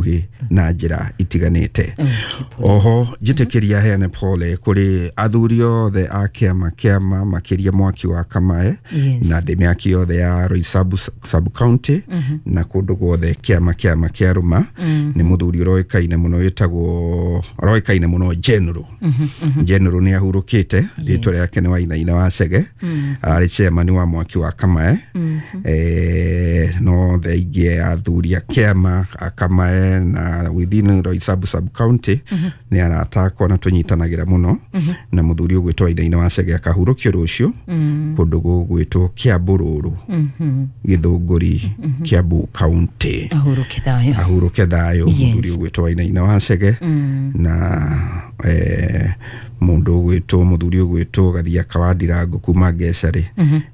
hakuhĩ na njĩra itiganĩte. Oho njĩtĩkĩria heane pole kũrĩ athuri othe a kĩama kĩama makĩria Mwaki wa Kamae na thĩ mĩaki yothe ya Roysambu sub county na kũndũ guothe kĩama kĩama kĩa rũma. Nĩ mũthuri ũroĩkaine mũno wĩtagwo ũroĩkaine mũno General. General nĩ ahurũkĩte, rĩtwa rĩake nĩ Wainaina wa Chege, ararĩ chairman wa Mwaki wa Kamae. No thengia athuri a kĩama a Kamae na within Roysambu sub county nĩ arata akwa na tũnyitanagĩra mũno, na mũthuri ũgwĩtwo Wainaina wa Chege akahurũkio rũciũ kũndũ gũgwĩtwo Kiambururu, Gĩthũngũri, Kiambu County. Ahurũke thayũ. Ahurũke thayũ mũthuri ũgwĩtwo Wainaina wa Chege na mũndũ ũgwĩtwo mũthuri ũgwĩtwo Gathiaka wa Ndirango kuma Ngecarĩ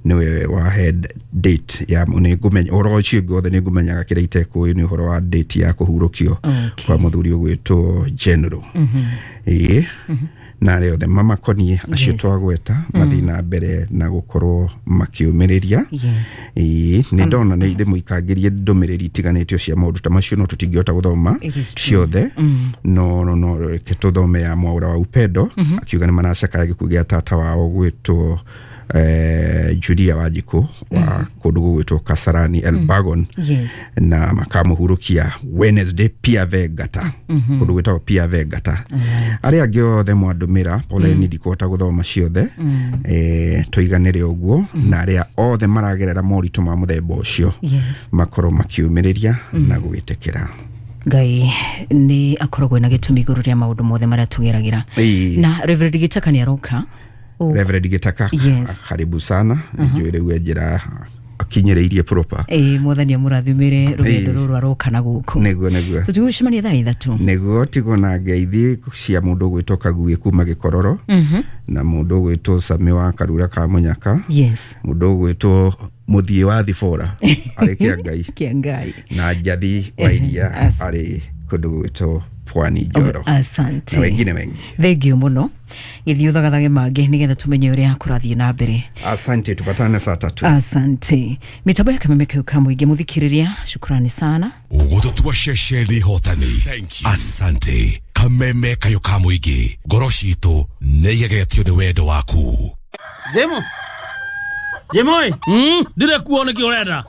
nĩwe wa head date ya nĩ ngũmenya ũhoro ũcio ũngĩ wothe nĩ ngũmenyaga kĩrĩa itekũĩ nĩ ũhoro wa date ya kũhurũkio kwa mũthuri ũgwĩtwo General. Ĩĩ, na arĩa othe mamakoniĩ acio twagweta mathiĩ na mbere na gũkorwo makĩũmĩrĩria. Ĩĩ, nĩ ndona nĩ ndĩmũikangĩrie ndũmĩrĩri itiganĩtio cia maũndũ ta macio no tũtingĩhota gũthoma It is true. ciothe, no reke tũthome ya Mwaura wa Upendo akiuga nĩ maracakaya gĩkuũ gĩa tata wao gwĩtwo Julia Wanjikũ wa kũndũ gũgwĩtwo Kasarani Elbagon na makamũhurũkia Wednesday Pia Vegata, kũndũ gwĩtagwo Pia Vegata. Arĩa angĩ othe mwandũmĩra poleni ndikũhota gũthoma ciothe, tũiganĩre ũguo, na arĩa othe maragerera moritũ ma mũthemba ũcio makorwo makiũmĩrĩria na gwĩtĩkĩra. Ngai nĩ akoragwo na gĩtũmi igũrũ rĩa maũndũ mothe marĩa tũgeragĩra. Na Reverend Gĩtaka nĩ aroka. Reverend Gĩtaka, karibu sana, nĩ njũĩ rĩu e njĩra akinyĩrĩirie proper. Ĩĩ, mwathani amũrathimĩre rũgendo rũrũ aroka na gũkũ. Nĩguo nĩguo. Tũtigũcemania thaa 3. Nĩguo tigwo na ngeithi cia mũndũ ũgwĩtwo Kaguĩ kuma Gĩkororo na mũndũ ũgwĩtwo Sami wa Karura ka Mũnyaka, mũndũ ũgwĩtwo Mũthiĩ wa Thibora arĩ Kĩangai Kĩangai na Njathi wa Iria arĩ kũndũ gũgwĩtwo Pwani Njoro. Asante. Na wengine wengi. Thengiũ mũno. Gĩthiĩ ũthagathage mangĩ nĩgetha tũmenye ũrĩa kũrathiĩ na mbere. Asante, tupatane saa 3. Asante. Mitambo ya Kameme kau ka mũingĩ mũthikĩrĩria, shukrani sana. Ũgũtũtua ceceni hotani. Asante. Kameme kayo ka mũingĩ, ngoro citũ nĩ igegetio nĩ wendo waku. Jemo. Jemo ĩ. Ndirĩ kuo nĩkĩ ũrenda?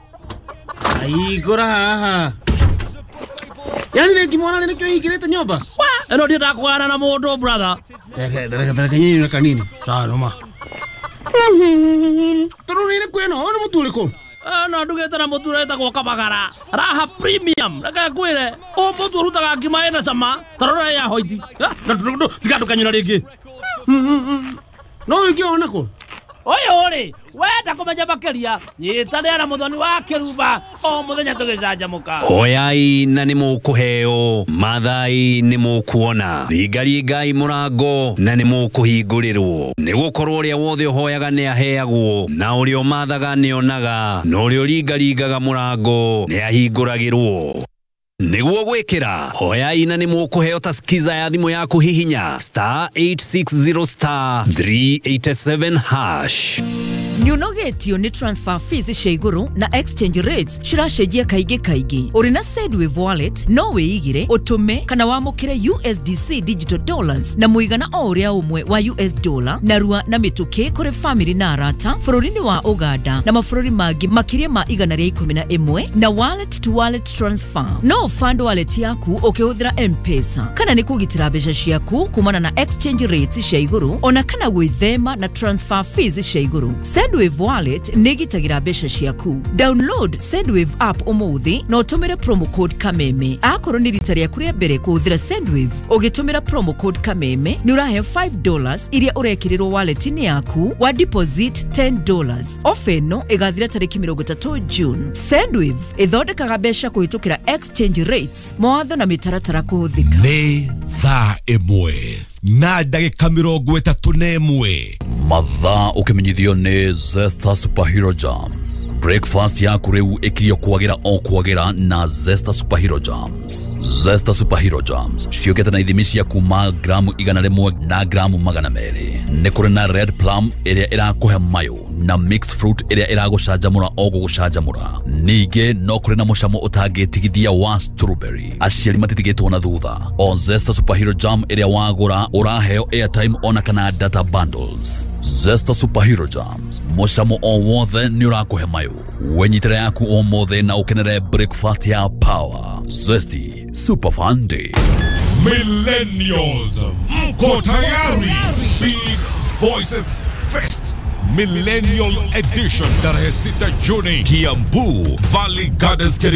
Aigũra haha. Yani nĩngĩmwona nĩkĩo hingĩrĩte nyũmba. Ĩno ndiendaga kũgana na mũndũ brother. Reke nyinyi kanini. Sawa noma. Tondũ nĩ ĩrĩkũ ĩno? Ũyũ nĩ mũtu ũrĩkũ? Ĩno ndugĩte na mũtu ũrĩa wĩtagwo Kabagara. Raha Premium. Reke ngwĩre, ũyũ mũtu ũrutaga ngima ĩna cama ta rora ya hoiti. Na tiga ndũkanyũra rĩngĩ. No ũngĩona kũ? Ũyũ rĩ, wenda kũmenya makĩria, nyitanĩra na Mũthoni wa Kĩrumba o mũthenya tũgĩcanjamũka. Hoyai na nĩ mũkũheo, mathai nĩ mũkuona, ringaringai mũrango na nĩ mũkũhingũrĩrwo. Nĩ gũkorwo ũrĩa wothe ũhoyaga nĩ aheagwo, na ũrĩa ũmathaga nĩ onaga, na ũrĩa ũringaringaga mũrango nĩ ahingũragĩrwo. Nĩguo gwĩkĩra hoyai na nĩ mũkũheo ta skiza ya thimũ yaku hihinya star 860 star 387 hash. Nĩũnogetio nĩ transfer fees cia igũrũ na exchange rates ciracenjia kaingĩ kaingĩ. Ũrĩ na Sendwave wallet no wĩigire, ũtũme kana wamũkĩre USDC digital dollars na mũigana o ũrĩa ũmwe wa US dollar narua na mĩtũkĩ kũrĩ family na arata bũrũri-inĩ wa Uganda na mabũrũri mangĩ makĩria ma 111 na wallet to wallet transfer. No fund wallet yaku ũkĩhũthĩra M-Pesa kana nĩ kũgitĩra mbeca ciaku kumana na exchange rates cia igũrũ ona kana gwĩthema na transfer fees cia igũrũ. Sendwave wallet nĩ ĩgitagĩra mbeca ciaku. Download Sendwave app ũmũthĩ na ũtũmĩre promo code Kameme. Akorwo nĩ rita rĩaku rĩa mbere kũhũthĩra Sendwave ũgĩtũmĩra promo code Kameme nĩ ũrahe $5 iria ũrekĩrĩrwo wallet-inĩ yaku wa deposit $10. Ofa ĩno ĩgathira tarĩki 30 June. Sendwave ĩthondekaga mbeca kũhĩtũkĩra exchange rates, mawatho na mĩtaratara kũhũthĩka. Nĩ thaa 1 na ndagĩka 31. Mathaa ũkĩmenyithio nĩ Zesta Superhero Jams. Breakfast yaku rĩu ĩkirio kwagĩra o kwagĩra na Zesta Superhero Jams. Zesta Superhero Jams ciũkĩte na ithimi cia kuma gramu 100 na gramu 200. Nĩ kũrĩ na red plum ĩrĩa ĩrakũhe mayũ na mixed fruit ĩrĩa ĩragũcanjamũra o gũgũcanjamũra. Ningĩ no kũrĩ na mũcamo ũtangĩtigithia wa strawberry. Aciari matitigĩtwo na thutha. O Zesta Superhero Jam ĩrĩa wagũra ũraheo airtime ona kana data bundles. Zesta Superhero Jams, mũcamo o wothe nĩ ũrakũhe mayũ. Wenyitĩre yaku ũmũthĩ na ũkenere breakfast ya power. Zesty Super Fun Day. Millennials, mko tayari? Big Voices Fest Millennial Edition tarehe 6 Juni, Kiambu Valley Gardens, Kirigi.